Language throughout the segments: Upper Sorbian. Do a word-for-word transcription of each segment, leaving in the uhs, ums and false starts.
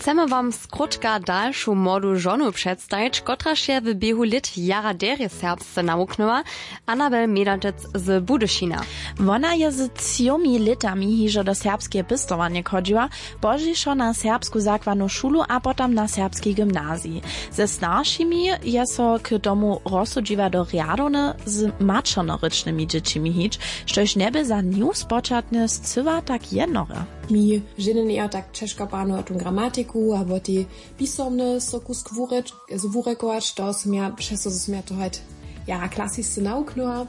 Chcemy wam skrótka dalšu młodu žonu předstajić, kotraž je w běhu lět jara derje serbsce nawuknyła. Anabel Medatec z Budyšina. Wona je z třomi lětami hižo do serbskeje pěstowarnje chodźiła, pozdźišo na serbsku zakładnu šulu a potom na serbski gymnazij. Ze staršimi je so k tomu rozsudźiła do rjadowne z maćernorěčnymi dźěćimi hić, štož njebě za nju spočatnje scyła tak jednore. Mi ženje njejo tak ćežko panować tu gramatiku abo te pisomne so kusk wurekować, to sym ja přesto zo sym ja to hojt jara klasisce nawuknyła.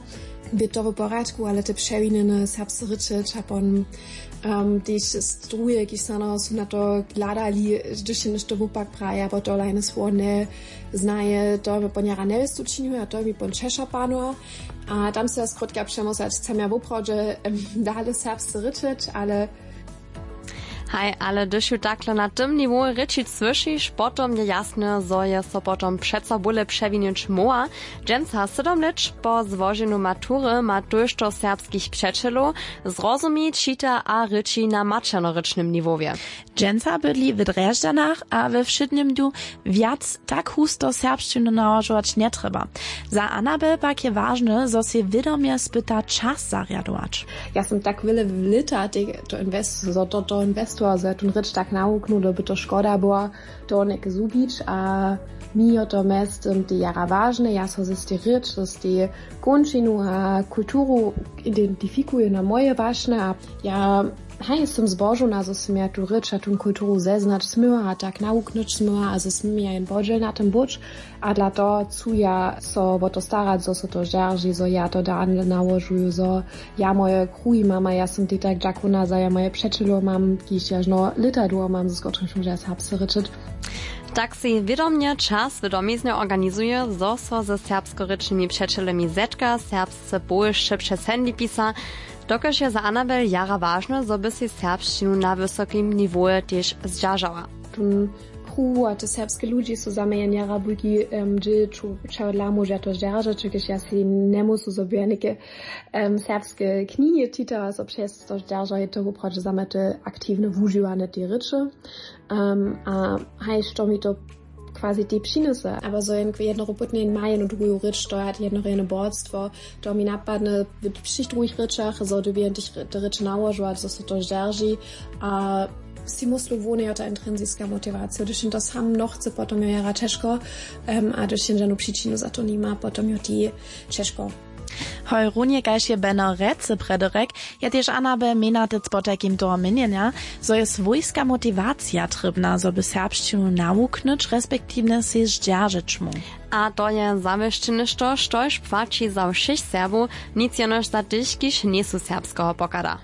Bě to w porjadku, ale te přewinjene serbsce rěče čapon, tež struje kiž snano su na to hladali, hdyž je něšto wupak praja abo to lajne słowo njeznaje, to mi pon jara njewěstu činiła a to mi pon ćeša panowa. A tam se ja skrótka přemysla chcem ja woprawdźe dale serbsce rěčeć ale haj, ale hdyž ju takle na tym niwoju rěčić słyšiš, potom je jasne zo je so potom přeco bóle přewinić móhła. Dźensa sydomlěć po złoženju matury ma tójšto serbskich přećelow, zrozumi, čita a rěči na maćernorěčnym niwowje. Dźensa bydli w drježdźanach a we wšědnym dnju wjac tak husto serbšćinu nałožować njetrjeba. Za anabel pak je wažne zo sej wědomje spyta čas zarjadować. Ja sym tak wjele lěta zo to investował zo ja tón rěč tak nawuknył doby to škoda była to něke zhubić a mi jo to mjeztym te jara wažne ja so z tej rěč z tej kónčinu a kulturu identifikuje na moje wašne a ja haj sym zbožowna zo sym ja tu rěč a tón kulturu zeznać smyła a tak nawuknyć smyła a zo smy ja jen podźěl na tym być. A dla toho chcu ja so wo to starać zo so to zdźerži zo ja to dale nałožuju zo ja moje kruhi mam a ja sym tej tak dźakowna za ja moje přećelow mam kiž ja žno lěta dołho mam z kótrychž móža serbsce rěčeć. Tak sej wědomje čas w domiznje organizuje zo so ze serbskorěčnymi přećelemi zetka serbsce powěsće přez handy pisa. Dokelž je za anabel jara wažne zo by sej serbšćinu na wysokim niwoje tež zdźeržała. Tón kruh a te serbske ludźi su za mjenjera bujki dźěl ču čehodla móža to zdźeržeć čekež ja sej njemusu zo by ja něke serbske knihi čitała zo přez to zdźerža je to woprawdźe za mnje te aktiwne wužiwanje tej rěče. A haj što mi to quasi tej přinjese abo zo jen jednoho pótnje jen ma jenu druhu rěč to je jednoho jene bordstwo to mi napadne w wšěch druhich rěčach zo dyrbjam tež te rěče nałožować zo so to zdźerži. A sej myslu wón je jo ta intrinsiska motiwacija hdyž jen to sam nochce potom jo jara ćežko. A hdyž jen žanu přičinu za to nima potom jo tej ćežko. Hoj runje kaž je beno rece prjedy rjek, je tež anabel mjenatec potajkim toho měnjenja zo je swójska motiwacija trěbna zo by serbšćinu nawuknyć respektiwnje sej zdźeržeć móhł. A to je zawěsće něšto štož płaći za wšěch serbow, nic jenož za tych kiž njejsu serbskeho pochada.